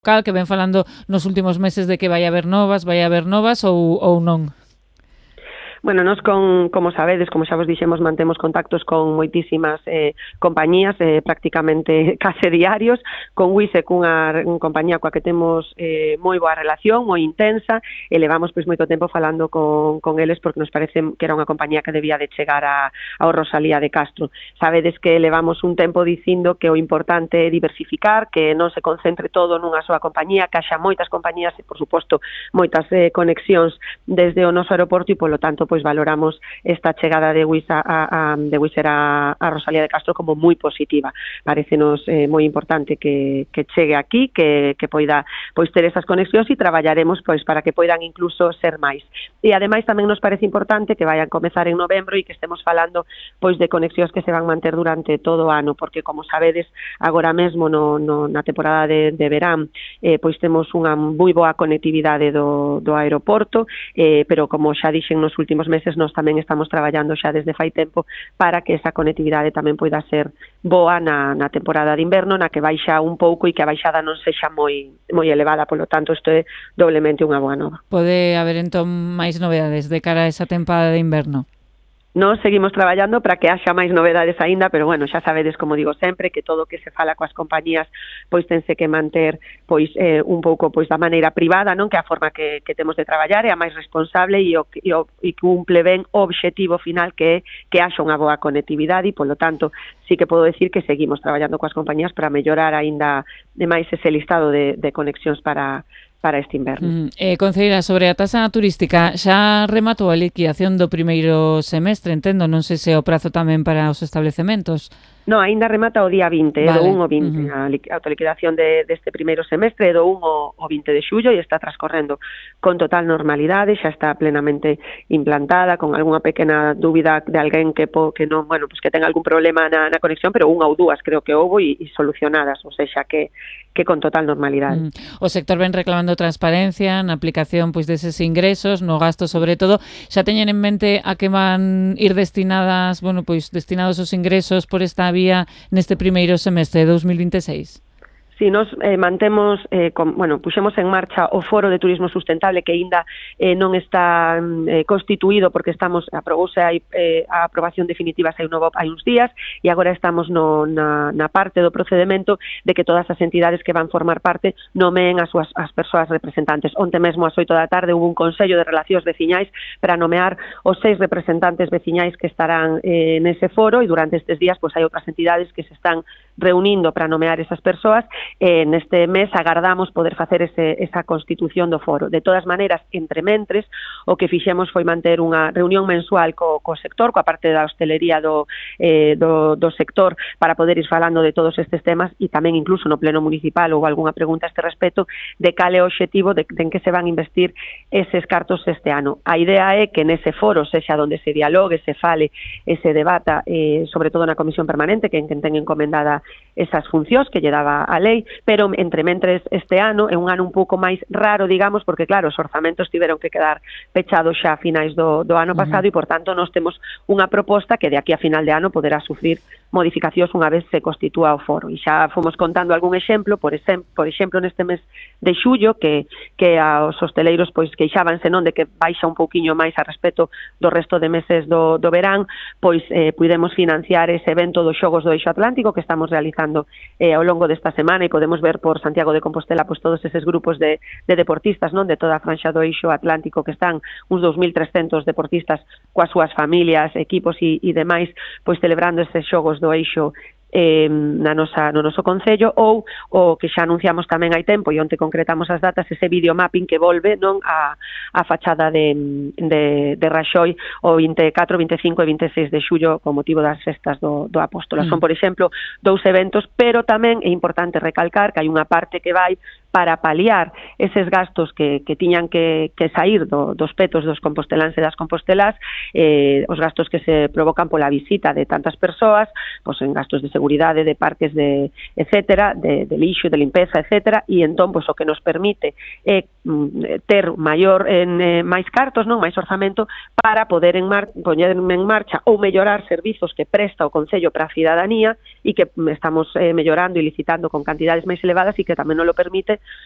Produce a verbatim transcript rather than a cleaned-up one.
local que ven falando nos últimos meses de que vai haber novas, vai haber novas ou, ou non? Bueno, nos con, como sabedes, como xa vos dixemos, mantemos contactos con moitísimas eh, compañías, eh, prácticamente case diarios, con Wise, cunha compañía coa que temos eh, moi boa relación, moi intensa, e levamos pois moito tempo falando con, con eles porque nos parece que era unha compañía que debía de chegar a, ao Rosalía de Castro. Sabedes que levamos un tempo dicindo que o importante é diversificar, que non se concentre todo nunha soa compañía, que haxa moitas compañías e, por suposto, moitas eh, conexións desde o noso aeroporto e, polo tanto, pois valoramos esta chegada de Wizz a, a, de Wizz a, a Rosalía de Castro como moi positiva. Parécenos eh, moi importante que, que chegue aquí, que, que poida pois ter esas conexións e traballaremos pois para que poidan incluso ser máis. E ademais tamén nos parece importante que vayan comezar en novembro e que estemos falando pois de conexións que se van manter durante todo o ano, porque como sabedes, agora mesmo no, no, na temporada de, de verán eh, pois temos unha moi boa conectividade do, do aeroporto, eh, pero como xa dixen nos últimos meses, nós tamén estamos traballando xa desde fai tempo para que esa conectividade tamén poida ser boa na, na temporada de inverno, na que baixa un pouco e que a baixada non sexa moi moi elevada, polo tanto isto é doblemente unha boa nova. Pode haber entón máis novedades de cara a esa temporada de inverno? Nós seguimos traballando para que haxa máis novedades aínda, pero bueno, xa sabedes, como digo sempre, que todo o que se fala coas compañías pois tense que manter pois eh, un pouco pois da maneira privada, non, que a forma que, que temos de traballar é a máis responsable e o e, o, e cumple ben o obxectivo final que é que haxa unha boa conectividade e, polo tanto, sí que podo decir que seguimos traballando coas compañías para mellorar aínda de máis ese listado de, de conexións para para este inverno. Mm, eh, Concelleira, sobre a taxa turística, xa rematou a liquidación do primeiro semestre, entendo, non sei se o prazo tamén para os establecementos. No, aínda remata o día vinte, vale. do un ao vinte, uh-huh. a autoliquidación de, deste primeiro semestre, do un ao vinte de xullo, e está transcorrendo con total normalidade, xa está plenamente implantada, con algunha pequena dúbida de alguén que po, que non, bueno, pues que ten algún problema na, na conexión, pero unha ou dúas creo que houbo e, e solucionadas, ou seja, que que con total normalidade. Mm. O sector ven reclamando transparencia na aplicación pois deses ingresos, no gasto sobre todo. Xa teñen en mente a que van ir destinadas, bueno, pois destinados os ingresos por esta vía neste primeiro semestre de dos mil vinte e seis? Si, nos eh, mantemos, eh, con, bueno, puxemos en marcha o Foro de Turismo Sustentable que aínda eh, non está eh, constituído porque estamos, aprobouse hai, eh, a aprobación definitiva hai, novo, hai uns días e agora estamos no, na, na parte do procedimento de que todas as entidades que van formar parte nomeen as súas as persoas representantes. Onte mesmo ás oito da tarde hubo un Consello de Relacións Veciñais para nomear os seis representantes veciñais que estarán eh, nese foro e durante estes días pues, hai outras entidades que se están reunindo para nomear esas persoas. Eh, neste mes agardamos poder facer ese, esa constitución do foro. De todas maneiras, entre mentres, o que fixemos foi manter unha reunión mensual co, co sector, coa parte da hostelería do, eh, do, do sector, para poder ir falando de todos estes temas e tamén incluso no pleno municipal ou algunha pregunta a este respecto de cal é o obxectivo de, de en que se van investir eses cartos este ano. A idea é que nese foro sexa onde se dialogue, se fale e se debata, eh, sobre todo na comisión permanente, que en quen ten encomendada esas funcións que lle daba a lei, pero entre mentres este ano é un ano un pouco máis raro, digamos, porque claro, os orzamentos tiveron que quedar pechados xa a finais do, do ano pasado uh-huh. e, por tanto, nós temos unha proposta que de aquí a final de ano poderá sufrir modificacións unha vez se constitúa o foro. E xa fomos contando algún exemplo, por, exem por exemplo, neste mes de xullo, que, que aos hosteleiros pois queixábanse non de que baixa un pouquiño máis a respecto do resto de meses do, do verán, pois eh, pudemos financiar ese evento dos Xogos do Eixo Atlántico que estamos realizando eh, ao longo desta semana e podemos ver por Santiago de Compostela pois todos eses grupos de, de deportistas non de toda a franxa do Eixo Atlántico que están uns dous mil trescentos deportistas coas súas familias, equipos e, e demais pois celebrando estes Xogos do Eixo eh, na nosa, no noso concello, ou o que xa anunciamos tamén hai tempo e onte concretamos as datas, ese videomapping que volve non a, a fachada de, de, de Raxoi o vinte e catro, vinte e cinco e vinte e seis de xullo con motivo das festas do, do Apóstolo. Mm. Son, por exemplo, dous eventos, pero tamén é importante recalcar que hai unha parte que vai para paliar eses gastos que, que tiñan que, que sair do, dos petos dos composteláns e das compostelas, eh, os gastos que se provocan pola visita de tantas persoas, pois en gastos de seguridade, de parques, de etcétera, de, de lixo, de limpeza, etcétera, e entón pois o que nos permite é mm, ter maior en, eh, máis cartos, non, máis orzamento para poder en mar, poñer en marcha ou mellorar servizos que presta o Concello para a cidadanía e que estamos eh, mellorando e licitando con cantidades máis elevadas e que tamén nos lo permite sustentable,